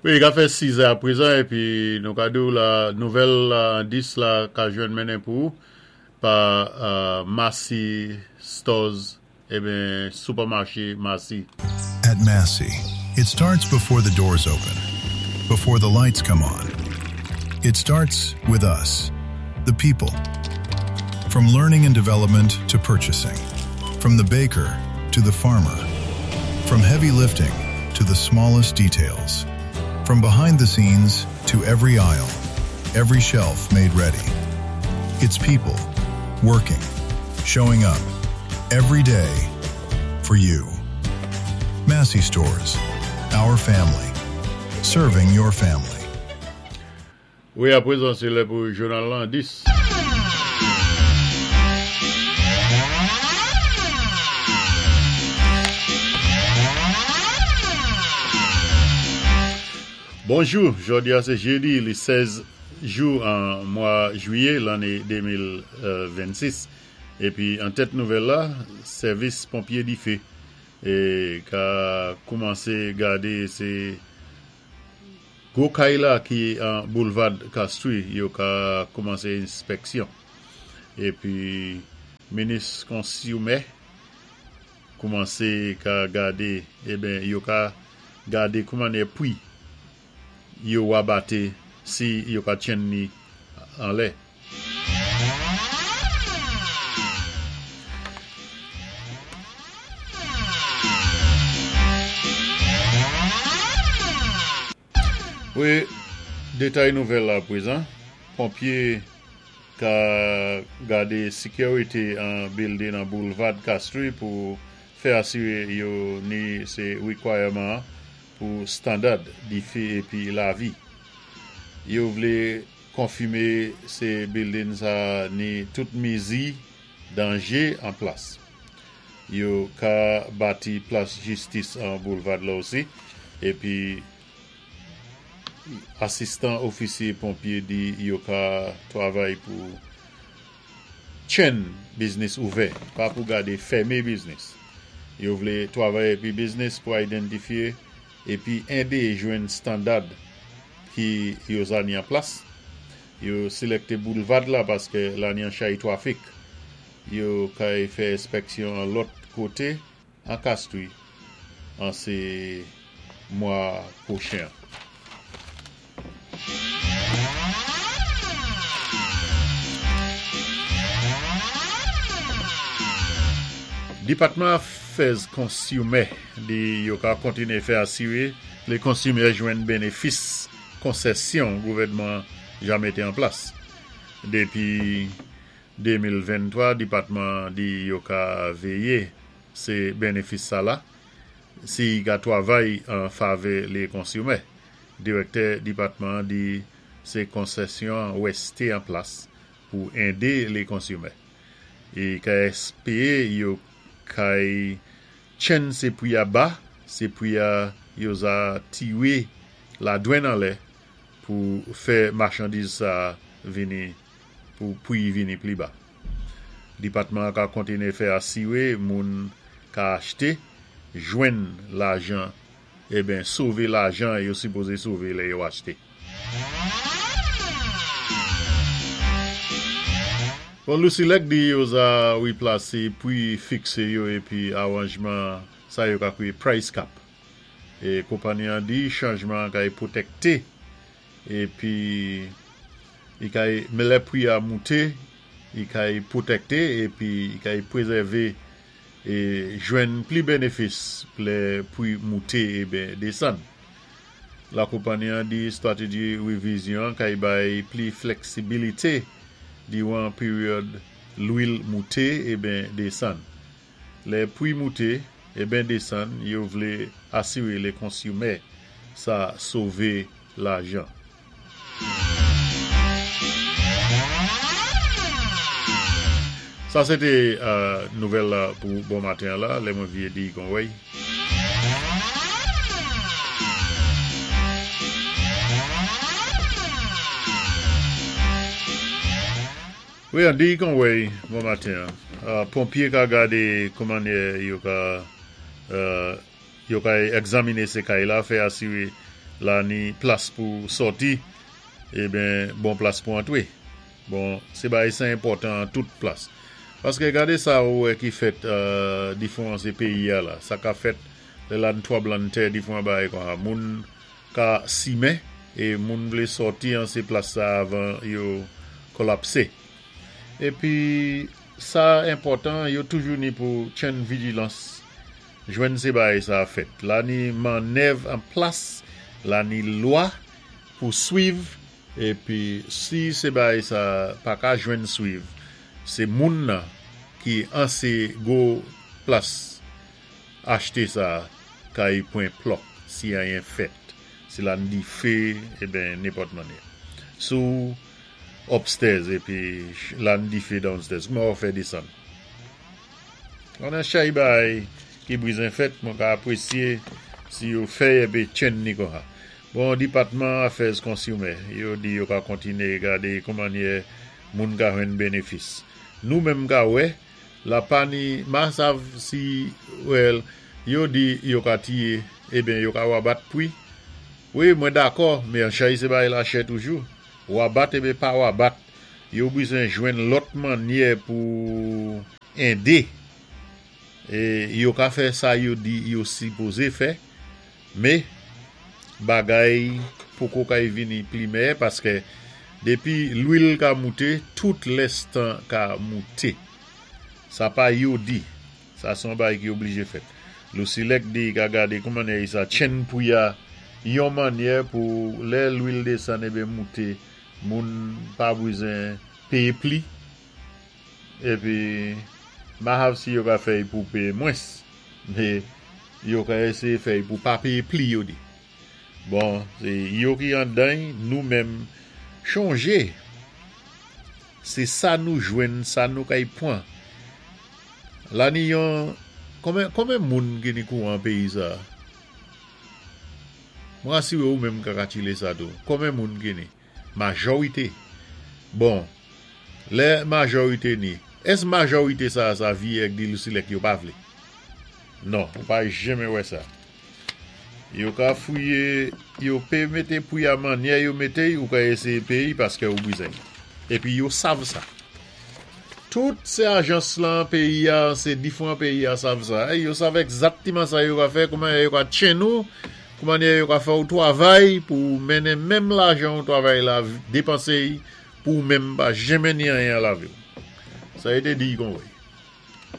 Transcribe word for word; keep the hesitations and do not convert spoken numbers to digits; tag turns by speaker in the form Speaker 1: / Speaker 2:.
Speaker 1: Wi, ka fè sis è apwézan épi nou ka di la nouvèl la, dis la ka jwenn mennen pou pa euh, Massy Stores, eben supermarché Massy.
Speaker 2: At Massy, it starts before the doors open, before the lights come on. It starts with us, the people. From learning and development to purchasing, from the baker to the farmer, from heavy lifting to the smallest details, from behind the scenes to every aisle, every shelf made ready. It's people working, showing up every day for you. Massy Stores, our family, serving your family.
Speaker 1: Wi, apwézan sé lè pou jounal lan dis. Bonjou, jòdi a sé jédi, li sèz jou an mwa jwiyé lanné de mil vennsis. Épi an tèt nouvèl la, sèvis ponpyé difé é ka koumansé gadé sé gwo kay la ki an Boulvad Castries, yo ka koumansé enspèksyon. Épi minis konsimè koumansé ka gadé, eben yo ka gadé kouman pwi yo wabaté si yo ka tjenn ni an lè. Wi, détay nouvèl la apwézan. Ponpyé ka gadé sékirité an building an Boulvad Castries pou fè asiré yo ni sé requirement pou standard difé épi lavi. Yo vlé konfimé sé building sa ni tout mézi danjé an plas. Yo ka bati plas jistis an Boulvad la osi épi asistan ofisyé ponpyé di yo ka twavay pou tjenn biznis ouvè, pa pou gadé fèmen biznis. Yo vlé twavay épi biznis pou idantifyé épi édé jwenn standard ki yo za ni an plas. Yo sélèkté Boulvad la paské la ni an chay twafik. Yo kay fè enspèksyon an lòt koté an Castries an sé mwa pwochen. Dipatman Afè Konsimè di yo ka kontiné fè asiré lé konsimè jwenn bénéfis konsèsyon gouvèdman ja mété an plas. Dépi de mil venntwa, dipatman di yo ka véyé sé bénéfis sa la si ka twavay an favè lé konsimè. Direktè dipatman di sé konsèsyon wèsté an plas pou édé lé konsimè. É ka èspéwé yo kay tjenn sé pwi a ba, sé pwi a yo za tiwé ladwann an lè pou fè machandiz sa vini pou pwi vini pli ba. Dipatman ka kontiné fè asiré moun ka achté, jwenn lajan, eben sové lajan yo sipozé sové lè yo achté. Bon, LUCELEC di yo za wiplasé pwi fiksé yo épi awanjman sa yo ka kwiyé price cap. É konpanyi an di chanjman kay pwotèkté épi i kay lè pwi a mouté, i kay pwotèkté épi i kay pwézèvé é jwenn pli bénéfis lè pwi mouté eben désann. La konpanyi an di stratéji wévizyon kay bay pli fleksibilité diwan péryòd lwil mouté eben désann. Lè pwi mouté eben désann, yo vlé asiré lé konsimè sa sové lajan. Sa sété euh, nouvèl la pou bon maten la, lè mwen vyé di kon wèy. Wi, an di kon wèy, bon maten. Euh, ponpyé ka gadé kouman yo ka euh, yo ka egzaminé sé kay la, fè asiré La ni plas pou sòti, eben bon plas pou antwé. Bon, sé bagay sa enpòtan an tout plas. Paské gadé sa ou wè ki fèt euh, difwan sé péyi ya la. Sa ka fèt lè la ni twanblanntè difwan bagay kon sa. Moun ka simen é moun vlé sòti an sé plas sa avan yo kolapsé. Épi sa enpòtan, yo toujou ni pou tchenn vijilans jwenn sé bagay sa fèt. La ni mannèv an plas, la ni lwa pou swiv, épi si sé bagay sa pa ka jwenn swiv, sé moun nan ki an sé gwo plas achté sa kay pwan plòk si anyen fèt. Si la ni difé, eben nenpòt mannyè. Si ou upstairs épi la ni difé downstairs, kouman ou fè désann? An an chay bagay ki bwizen fèt, mwen ka apwésyé si yo fè épi tchenn ni kon sa. Bon, Dipatman Afè Konsimè, yo di yo ka kontiné gadé koumannyè moun ka jwenn bénéfis. Nou menm ka wè, la pa ni, ma sav si, well, yo di yo ka tiyé, eben yo ka wabat pwi. Wi, mwen dakò, mé an chay sé bagay la chè toujou. Wabat eben pa wabat. Yo bwizen jwenn lòt mannyè pou édé. É yo ka fè sa yo di yo sipozé fè, mé bagay poko kay vini pli meyè paské dépi lwil ka mouté, tout lèstan ka mouté. Sa pa yo di. Sa son bagay ki oblijé fèt. Lusilek di ka gadé koumannyè sa tchenn pwi a yon mannyè pou lè lwil désann eben mouté, moun pa bwizen péyé pli. Épi ma hav si yo ka fèy pou péyé mwens. Mé yo ka éséyé fèy pou pa péyé pli yo di. Bon, sé yo ki andan, nou menm chonjé. Sé sa nou jwenn, sa nou kay pwan. La ni yon, konben, konben moun ki ni kouwan péyi sa? Mwen asiwé ou menm ka katchilé sa tou. Konben moun ki ni? Majorité. Bon, lè majorité ni, ès majorité sa sa vi ek di Lusilek yo pa vlé? Non, ou pa jenmen wè sa. Yo ka fouyé, yo pé mété pwi a mannyè yo mété, ou ka éséyé péyé paské ou bwizen. Épi yo sav sa. Tout sé ajans lan péyi a, sé difwan péyi a sav sa. Yo sav egzaktiman sa yo ka fè, kouman yo ka tchenn ou, kouman yo ka fè ou twavay pou mennen menm lajan ou twavay la dépansé pou menm pa jenmen ni anyen a lavi. Sa été di kon wè.